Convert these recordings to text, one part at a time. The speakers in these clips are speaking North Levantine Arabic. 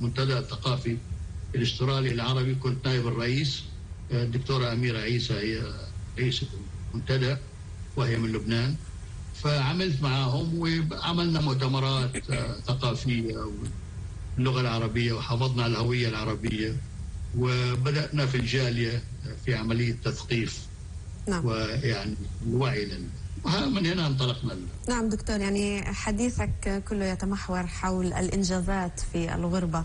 المنتدى الثقافي الاسترالي العربي، كنت نائب الرئيس. الدكتورة أميرة عيسى هي رئيسة المنتدى وهي من لبنان، فعملت معهم وعملنا مؤتمرات ثقافية باللغة العربية وحافظنا على الهوية العربية، وبدأنا في الجالية في عملية تثقيف. نعم. ويعني الوعي ومن هنا انطلقنا. نعم دكتور، يعني حديثك كله يتمحور حول الإنجازات في الغربة،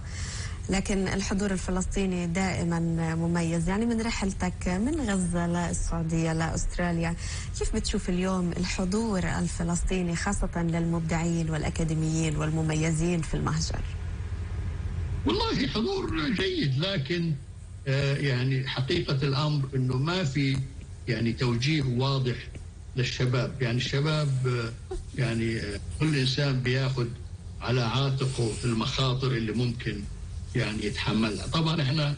لكن الحضور الفلسطيني دائما مميز. يعني من رحلتك من غزة للسعودية لأستراليا، كيف بتشوف اليوم الحضور الفلسطيني خاصة للمبدعين والأكاديميين والمميزين في المهجر؟ والله حضور جيد، لكن يعني حقيقة الأمر أنه ما في يعني توجيه واضح للشباب. يعني الشباب يعني كل إنسان بياخد على عاتقه المخاطر اللي ممكن يعني يتحملها. طبعا احنا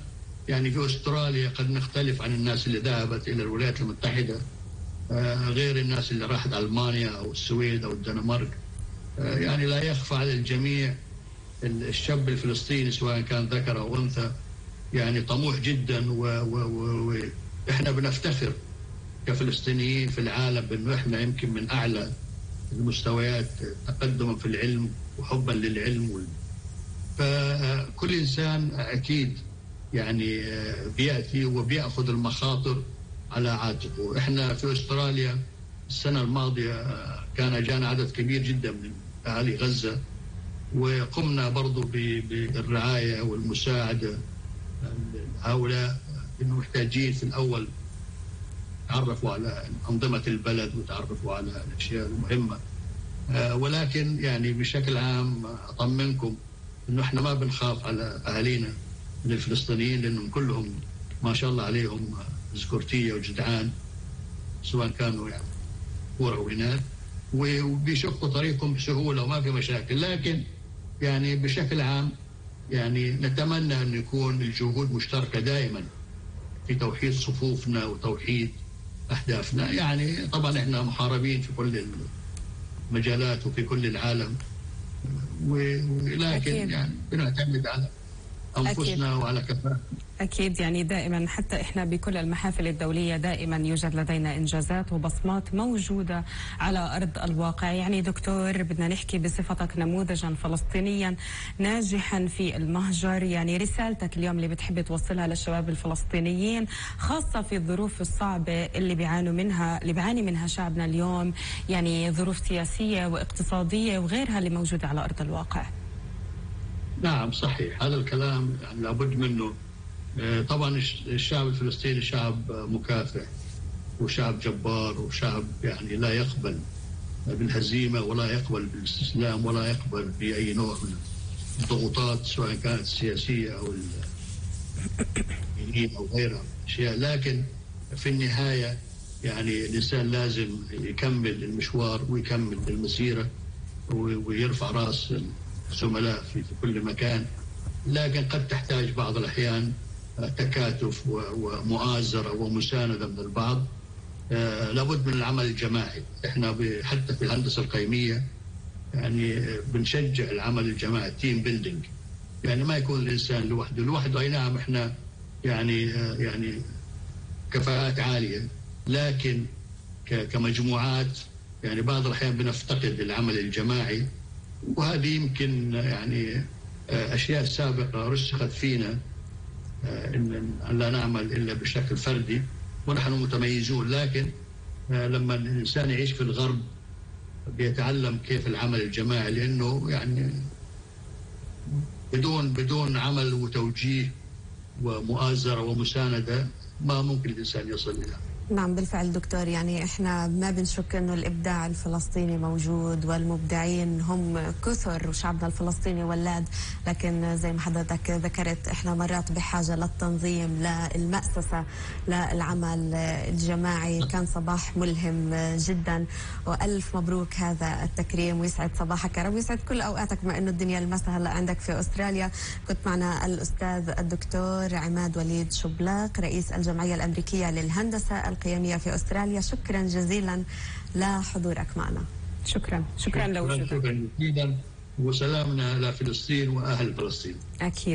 يعني في أستراليا قد نختلف عن الناس اللي ذهبت إلى الولايات المتحدة، غير الناس اللي راحت ألمانيا أو السويد أو الدنمارك. يعني لا يخفى على الجميع الشاب الفلسطيني سواء كان ذكر أو أنثى يعني طموح جدا، وإحنا بنفتخر كفلسطينيين في العالم بأنه إحنا يمكن من أعلى المستويات تقدما في العلم وحبا للعلم. فكل إنسان أكيد يعني بيأتي وبيأخذ المخاطر على عاتقه. إحنا في أستراليا السنة الماضية كان جانا عدد كبير جدا من أهالي غزة، وقمنا برضو بالرعاية والمساعدة هؤلاء إنه محتاجين في الأول تعرفوا على أنظمة البلد وتعرفوا على الأشياء المهمة. ولكن يعني بشكل عام أطمنكم إنه إحنا ما بنخاف على أهالينا من الفلسطينيين، لأنهم كلهم ما شاء الله عليهم ذكورتية وجدعان، سواء كانوا يعني كورة وإناث، وبيشقوا طريقهم بسهولة وما في مشاكل. لكن يعني بشكل عام يعني نتمنى أن يكون الجهود مشتركة دائما في توحيد صفوفنا وتوحيد أهدافنا. يعني طبعا إحنا محاربين في كل المجالات وفي كل العالم، ولكن يعني بنعتمد على أنفسنا وعلى كفاءتنا. أكيد، يعني دائما حتى إحنا بكل المحافل الدولية دائما يوجد لدينا إنجازات وبصمات موجودة على أرض الواقع. يعني دكتور، بدنا نحكي بصفتك نموذجا فلسطينيا ناجحا في المهجر، يعني رسالتك اليوم اللي بتحب توصلها للشباب الفلسطينيين خاصة في الظروف الصعبة اللي بيعاني منها شعبنا اليوم، يعني ظروف سياسية واقتصادية وغيرها اللي موجودة على أرض الواقع. نعم صحيح، هذا الكلام يعني لابد منه. طبعا الشعب الفلسطيني شعب مكافح وشعب جبار وشعب يعني لا يقبل بالهزيمة ولا يقبل بالاستسلام ولا يقبل بأي نوع من الضغوطات سواء كانت سياسية أو دينية أو غيرها أشياء. لكن في النهاية يعني الإنسان لازم يكمل المشوار ويكمل المسيرة ويرفع رأس الزملاء في كل مكان. لكن قد تحتاج بعض الأحيان تكاتف ومؤازرة ومساندة من البعض. لابد من العمل الجماعي. احنا حتى في الهندسة القيمية يعني بنشجع العمل الجماعي، تيم بيلدينج. يعني ما يكون الإنسان لوحده. أي نعم احنا يعني كفاءات عالية، لكن كمجموعات يعني بعض الأحيان بنفتقد العمل الجماعي، وهذه يمكن يعني أشياء سابقة رسخت فينا أن لا نعمل إلا بشكل فردي ونحن متميزون. لكن لما الإنسان يعيش في الغرب بيتعلم كيف العمل الجماعي، لأنه يعني بدون عمل وتوجيه ومؤازرة ومساندة ما ممكن الإنسان يصل إلى. نعم بالفعل دكتور، يعني احنا ما بنشك انه الابداع الفلسطيني موجود والمبدعين هم كثر وشعبنا الفلسطيني ولاد، لكن زي ما حضرتك ذكرت احنا مرات بحاجة للتنظيم، للمأسسة، للعمل الجماعي. كان صباح ملهم جدا والف مبروك هذا التكريم، ويسعد صباحك يا رب ويسعد كل اوقاتك بما انه الدنيا المسا هلا عندك في استراليا. كنت معنا الاستاذ الدكتور عماد وليد شبلاق رئيس الجمعية الامريكية للهندسة القيمية في أستراليا. شكرا جزيلا لحضورك معنا. شكرا لوجودك. شكرا جزيلا، وسلامنا لفلسطين وأهل فلسطين. أكيد.